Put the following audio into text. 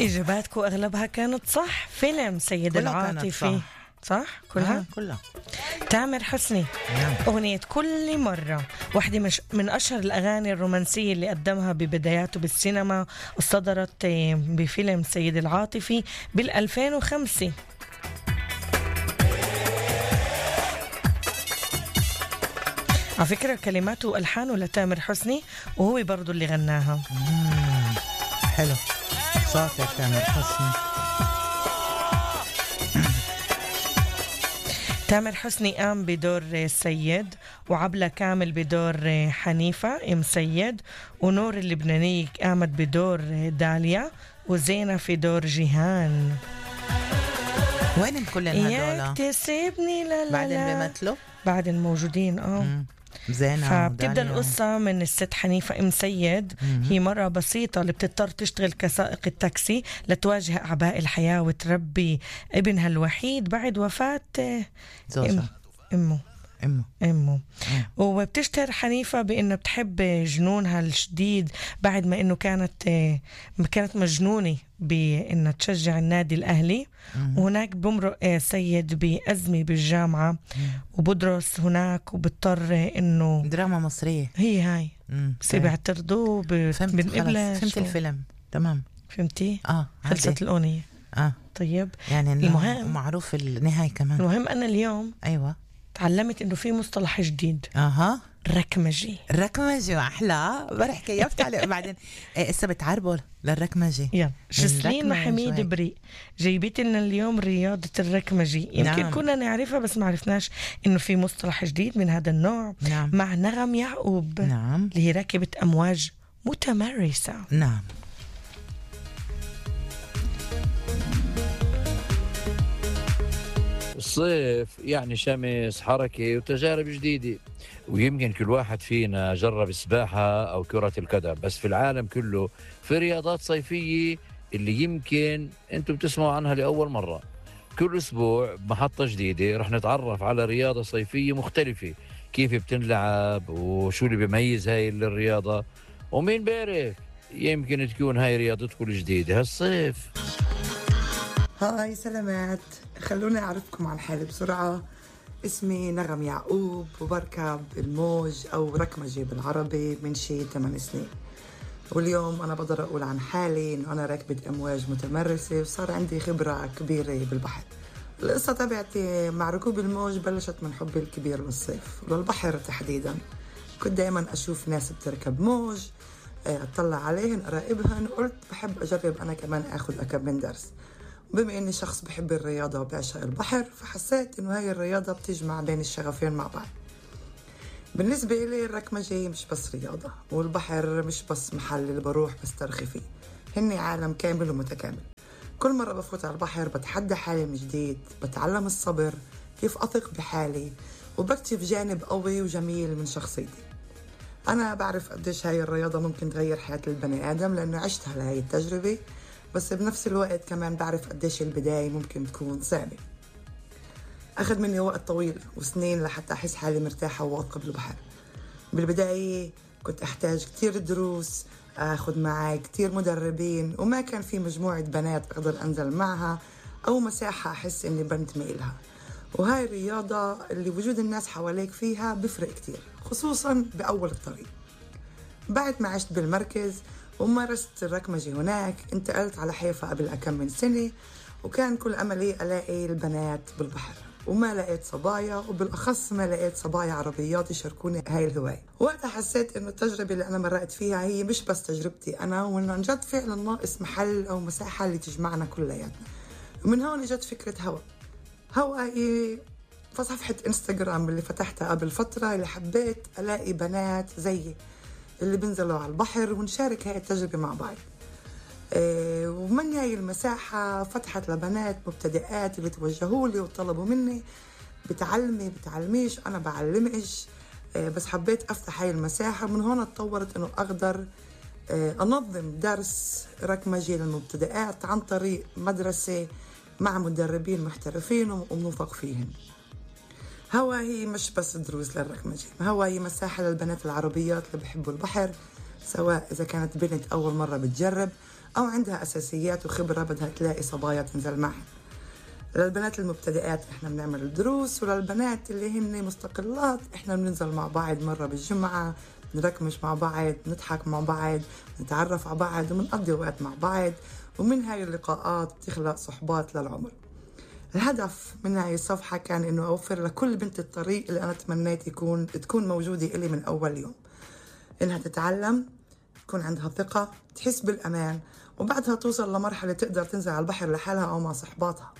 إجاباتكم أغلبها كانت صح. فيلم سيد العاطفي صح كلها؟ كلها. تامر حسني. أغنية كل مرة واحدة من أشهر الأغاني الرومانسية اللي قدمها ببداياته بالسينما، وصدرت بفيلم سيد العاطفي بال2005. على فكرة كلماته وألحانه لتامر حسني، وهو برضو اللي غناها. حلو صوتك تامر حسني. تامر حسني قام بدور سيد، وعبلة كامل بدور حنيفة ام سيد، ونور اللبنانية قامت بدور داليا، وزينة في دور جيهان. وين كل هدول؟ ياك تسيبني لا لا بعدين بيمثلوا بعدين موجودين. زينة. فبتبدأ القصة من الست حنيفة ام سيد. هي مرة بسيطة اللي بتضطر تشتغل كسائق التاكسي لتواجه أعباء الحياة وتربي ابنها الوحيد بعد وفاة أمه. وبتشتهر حنيفة بأنه بتحب جنونها الشديد، بعد ما أنه كانت مجنونة بأنها تشجع النادي الأهلي. وهناك بمرق سيد بأزمة بالجامعة وبدرس هناك، وبضطر أنه دراما مصرية هي هاي بس بيعترضوا بنقبلش. فهمت الفيلم تمام. فهمتي؟ خلصت عادي. الأغنية. طيب يعني المهم معروف النهاية كمان. المهم أنا اليوم أيوة تعلمت إنه في مصطلح جديد. ركمجي. أحلى برح كيفت عليه. بعدين إسا بتعربوا للركمجي. يلا جسلين محميد بريء جايبت لنا اليوم رياضة الركمجي. يمكن كنا نعرفها بس ما عرفناش إنه في مصطلح جديد من هذا النوع. مع نغم يعقوب. اللي هي راكبة أمواج متمرسة. الصيف يعني شمس، حركة وتجارب جديدة، ويمكن كل واحد فينا جرب السباحة أو كرة القدم، بس في العالم كله في رياضات صيفية اللي يمكن أنتم بتسمعوا عنها لأول مرة. كل أسبوع محطة جديدة رح نتعرف على رياضة صيفية مختلفة، كيف بتنلعب وشو اللي بيميز هاي الرياضة، ومين بيعرف يمكن تكون هاي رياضتكم الجديدة هالصيف. هاي سلامات، خلوني أعرفكم عن حالي بسرعة. اسمي نغم يعقوب وبركب الموج أو ركمجي بالعربي من شي 8 سنين. واليوم أنا بقدر أقول عن حالي إنه أنا راكبة أمواج متمرسة وصار عندي خبرة كبيرة بالبحر. القصة تبعتي مع ركوب الموج بلشت من حبي الكبير للصيف وللبحر تحديدا. كنت دايما أشوف ناس بتركب موج، أطلع عليهن أراقبهن، وقلت بحب أجرب أنا كمان أخذ أكم من درس. بما إني شخص بحب الرياضة وبعشق البحر، فحسيت إنه هاي الرياضة بتجمع بين الشغفين مع بعض. بالنسبة إلي الركمجي مش بس رياضة، والبحر مش بس محل اللي بروح بسترخي فيه، هني عالم كامل ومتكامل. كل مرة بفوت على البحر بتحدى حالي من جديد، بتعلم الصبر، كيف أثق بحالي، وبكتشف جانب قوي وجميل من شخصيتي. أنا بعرف قديش هاي الرياضة ممكن تغير حياة البني آدم لأنه عشتها لهاي التجربة، بس بنفس الوقت كمان بعرف قديش البداية ممكن تكون صعبة. أخذ مني وقت طويل وسنين لحتى أحس حالي مرتاحة وواثقة بالبحر. بالبداية كنت أحتاج كتير دروس، أخذ معي كتير مدربين، وما كان في مجموعة بنات أقدر أنزل معها أو مساحة أحس إني بنتمي إلها. وهاي الرياضة اللي وجود الناس حواليك فيها بفرق كتير، خصوصا بأول الطريق. بعد ما عشت بالمركز ومارست الركمجي هناك، انتقلت على حيفا قبل أكم من سنة، وكان كل أملي ألاقي البنات بالبحر، وما لقيت صبايا، وبالأخص ما لقيت صبايا عربيات يشاركوني هاي الهواية. وقتها حسيت إنه التجربة اللي أنا مرقت فيها هي مش بس تجربتي أنا، وإنه عن جد فعلا ناقص محل أو مساحة اللي تجمعنا كلياتنا. ومن هون جت فكرة هوا هي فصفحة إنستغرام اللي فتحتها قبل فترة، اللي حبيت ألاقي بنات زيي اللي بنزلوا على البحر ونشارك هاي التجربة مع بعض. ومن هاي المساحة فتحت لبنات مبتدئات اللي توجهوا لي وطلبوا مني بتعلميش، أنا بعلمش، بس حبيت أفتح هاي المساحة. من هون اتطورت إنه أقدر أنظم درس ركمجي للمبتدئات عن طريق مدرسة مع مدربين محترفين وموثق فيهم. هوا هي مش بس دروس للركمجي، هوا هي مساحة للبنات العربيات اللي بيحبوا البحر سواء إذا كانت بنت أول مرة بتجرب أو عندها أساسيات وخبرة بدها تلاقي صبايا تنزل معها. للبنات المبتدئات إحنا بنعمل الدروس، وللبنات اللي هن مستقلات إحنا بننزل مع بعض مرة بالجمعة، نركمش مع بعض، نضحك مع بعض، نتعرف على بعض ومنقضي وقت مع بعض، ومن هاي اللقاءات تخلق صحبات للعمر. الهدف من هاي الصفحة كان إنه أوفر لكل بنت الطريق اللي أنا تمنيت تكون موجودة إلي من أول يوم، إنها تتعلم، تكون عندها ثقة، تحس بالأمان، وبعدها توصل لمرحلة تقدر تنزل على البحر لحالها أو مع صحباتها.